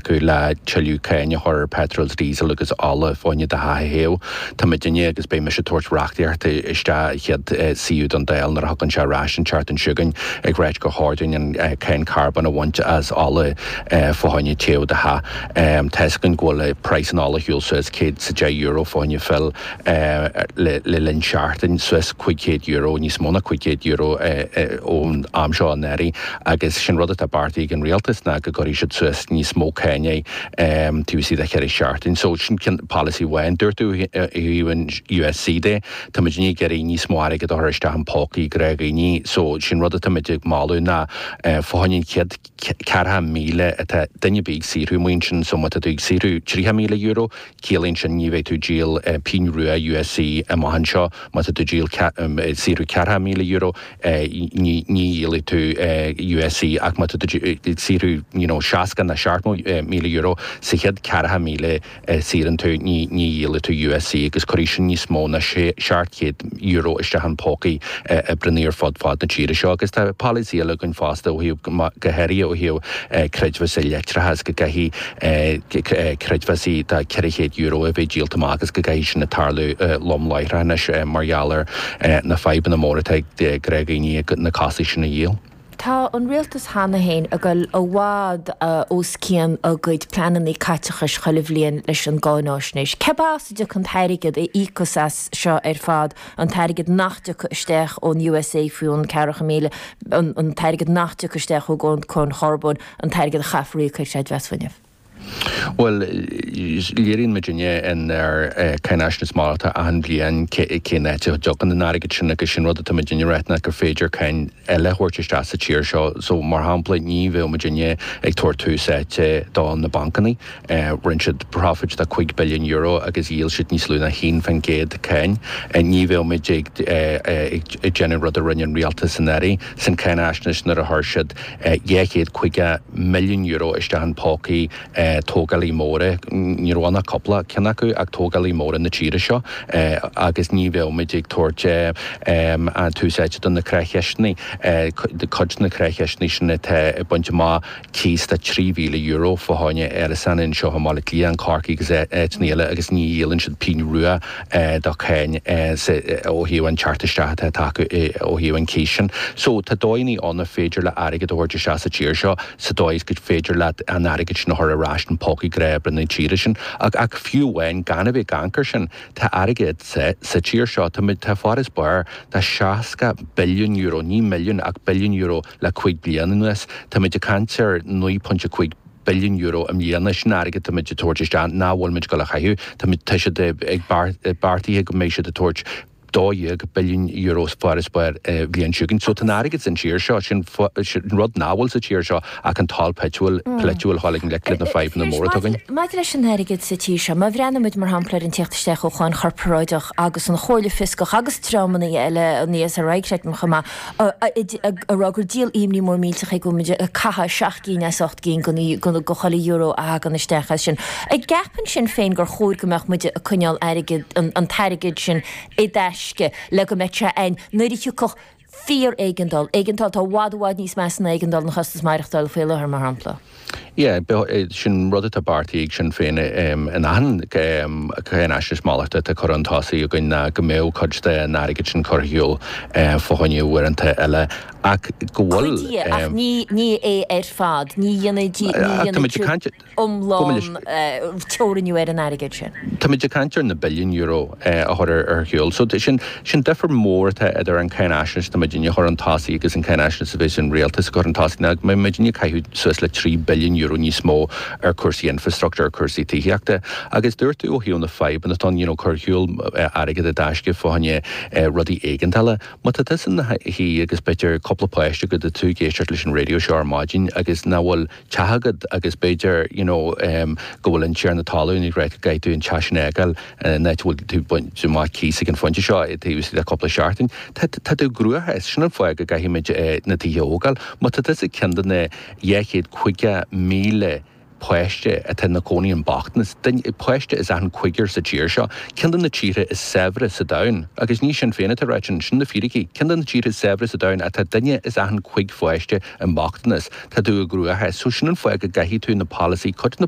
tacú le tuilleadh cáin a chur ar petrol, diesel agus ola fá choinne do theach a théamh. Tá muidinne agus beidh mise ag tabhairt reachtaíocht isteach an chéad suíomh don Dáil nuair a thagann sé ar ais an tseachtain seo chugainn ag ráit gur chóir dúinn an cáin carbóin a bhaint as ola fá choinne téamh do theach. Tá 'fhios againn go bhfuil praghas an ola ar shiúl suas €110 fá choinne fill le linn seachtain, suas €500, níos mó ná €500 ón am seo anuraidh agus sin rud atá beartaithe ag an rialtas ná go gcuirfidh siad suas níos mó cáin taobh istigh de cheithre seachtain. So sin polasaí amháin. Dúirt tú ó thaobh an USC de, tá muidinne ag iarraidh níos mó airgead a chur isteach in pócaí gnáthdhaoine so sin rud atá muid ag moladh ná fá choinne an chéad 40,000 atá duine ar bith ag saothrú amuigh ansin so má tá tú ag saothrú €30,000 ciallaíonn sin ní bheidh tú ag díol pingin rua USC amach anseo, má tá tú ag díol ag saothrú €40,000 ní dhíolfaidh tú USC ach má tá tú ag saothrú you know 60 nó €70,000 sa chéad 40,000 a saothraíonn tú ní dhíolfaidh tú USC agus cuirfidh sin níos mó ná €700 isteach in pócaí oibreannaí ar fud fad na tíre seo agus tá polasaí eile againn fosta ó thaobh go háirithe ó thaobh creidmheasa leictreachais go gcaithfidh creidmheasaí de €400 a bheith díolta amach agus go gcaithfidh sin a tarlú lom láithreach anois mar gheall ar na fadhbanna móra atá ag gnáthdhaoine na costais sin a dhíol. Tá an rialtas cheana féin ag dul i bhfad os cionn a gcuid pleananna caiteachais chuile bhliain leis an gcáináisnéis. Cérbh as a dtiocfaidh an t-airgead a íocfas as seo ar fad, an t-airgead nach dtiocfaidh isteach ón USA faoin 40,000, an t-airgead nach dtiocfaidh isteach ó cháin charbóin, an t-airgead a chaithfear a íoc ar chreidmheas fuinnimh? Bhuel, léiríonn muidinne inár cáinaisnéis malartach achan bhliain cén áit a dtiocfaidh an airgead sin agus sin rud atá muidinne ag ráit ná gur féidir cáin eile a thabhairt isteach sa tír seo. So, mar shampla, ní bheadh muidinne ag tabhairt tús áite do na bancannaí. Rinne siad profit de €5 billiún agus dhíol siad níos lú ná 1% cáin. Ní bheadh muid ag déanamh rud a rinne an rialtas anuraidh san cáinaisnéis nuair a chuir siad €250 milliún isteach in pócaí tógálaí móra, ní raibh ann ach cúpla ceann acu, ach tógálaí móra na tíre seo agus ní bheadh muid ag tabhairt an tús áite do na creacheisteanna, cuid de na creacheisteanna sin atá ag baint amach cíos de €3,000 fá choinne árasán anseo i mBaile Átha Cliath, in Corcaigh agus áiteanna eile agus ní dhíolann siad pingin rua de cháin ó thaobh an teacht isteach atá acu ó thaobh an cíos sin. So tá dóigheanna ann ar féidir le airgead a thabhairt isteach sa tír seo sa dóigh is gur féidir leat an airgead sin a chur ar ais in pócaí gnáthoibrithe na tíre sin. Ach fiú amháin gan a bheith ag amharc air sin, tá airgead sa tír seo. Tá tá farasbarr de €60 billiún, ní milliún ach billiún euro le 5 bliana anuas. Táimid ag caint ar €9.5 billiún i mbliana. Sin airgead táimid ag tabhairt isteach nach bhfuil muid ag dul a chaitheamh. Táimid, tá siad ag beartaithe go mbeidh siad ag tabhairt €12 billiún farasbarr an bhliain seo chugainn. So tá an airgead san tír seo, sin rud nach bhfuil sa tír seo ach an toil polaitiúil a dhul i ngleic le na fadhbanna móra atá againn. Maidir leis an airgead sa tír seo, má bhreathnaíonn muid mar shampla ar an tíocht isteach ó cháin chorparáideach agus an Chomhairle Fioscach agus dreamanna eile, an ESRI creidim chomh maith, ag rá gur díol imní mór millteach é go bhfuil muid ag caitheamh 7 gcinn as 8 gcinn de chuile euro a thagann isteach as sin. An gceapann Sinn Féin gur chóir go mbeadh muid ag coinneáil airgead, an t-airgead sin i dtaisce le go mbeadh sé ann nuair a thiocfadh fíor-éigeandáil, éigeandáil atá i bhfad i bhfad níos measa ná éigeandáil an chostas maireachtála faoi láthair, mar shampla? Yeah, sin rud atá beartaithe ag Sinn Féin in achan cáinaisnéis malartach atá curtha chun tosaigh againn ná go mbeadh cuid den airgead sin curtha ar shiúl fá choinne uaireanta eile ach go bhfuil. Cuid de, ach ní é ar fad. Ní dhéanfaidh siad. iomlán teorannú ar an airgead sin. Táimid ag caint ar na billiúin euro a chur ar shiúl. So sin sin difear mór atá idir an cáinaisnéis atá muidinne a chur chun tosaigh agus an cáinaisnéis a bheas an rialtas ag cur chun tosaigh ná go mbeidh muidinne ag caitheamh suas le €3 billiún níos mó ar cúrsaí infrastructure, ar cúrsaí tithíochta. Agus dúirt tú ó thaobh na fadhbanna atá ann, you know, cur ar shiúl airgead i dtaisce fá choinne rudaí éigeandála. Má tá tusa ina shuí agus b'fhéidir cúpla páiste agat tá tú ag éisteacht leis an raidió seo ar maidin agus nach bhfuil teach agat agus b'fhéidir you know go bhfuil an tiarna talún ag rá go gcaithfidh tú an teach sin a fhágáil an áit a bhfuil tú ag baint amach cíos ag an phointe seo taobh istigh de cúpla seachtain. Tá tá tú i gcruachás. Sin an fáth go gcaithfimid na tithe a thógáil. Má tá tusa ceann de na 250,000 páiste atá ina cónaí i mbochtanas, duine, páiste as achan cúigear sa tír seo, ceann de na tíortha is saibhre sa domhan, agus ní Sinn Féin atá ag ráit sin, sin na fíricí, ceann de na tíortha is saibhre sa domhan ach tá duine as achan chúig pháiste i mbochtanas. Tá tú i gcruachás. So sin an fáth go gcaithfidh tú na polasaí, cuid de na.